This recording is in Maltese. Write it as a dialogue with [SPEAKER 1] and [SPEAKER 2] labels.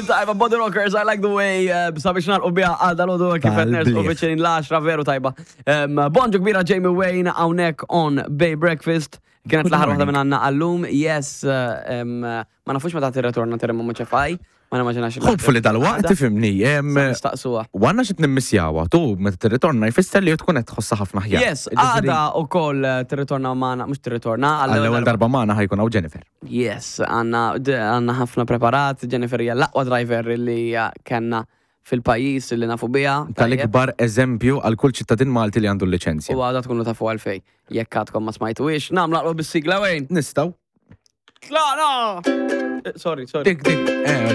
[SPEAKER 1] Tajba, Body Rockers, I like the way, eh, sabiex nalqu biha għal dal-għodu kif qed nersqu viċin l-10 veru tajba. Bonġu kbira Jamie Wayne hawnhekk on Bay Breakfast. Kienet l-aħħar waħda minn għandna għallum, yes, eh, ma nafux meta tirretorna terremu ċefaj, ma nimmaġinax.
[SPEAKER 2] Hopefully dal-waqt tifhimni.
[SPEAKER 1] Nistaqsuha.
[SPEAKER 2] U għandna xi nimmissjawha, tu meta tirritorna jfisser li tkun qed tħossha ħafna
[SPEAKER 1] aħjar. Yes, għada ukoll eh, tirritorna magħna, mhux tirritorna.
[SPEAKER 2] Għall-ewwel darba magħna ħajkun hawn Jennifer.
[SPEAKER 1] Yes, għanna ħafna preparat, Jennifer hija l-aqwa driver li kellna fil-pajjiż li nafu biha.
[SPEAKER 2] Tal-ikbar eżempju għal kull ċittadin Malti li għandu l-liċenzja.
[SPEAKER 1] U għada tkunu tafu għalfej. Jekk għadkom ma smajtuhiex, nagħmlu aqwa bis-sigla wejn.
[SPEAKER 2] Nistgħu.
[SPEAKER 1] Tlaqna! Eh, sorry, sorry.
[SPEAKER 2] Dik, dik. Eh,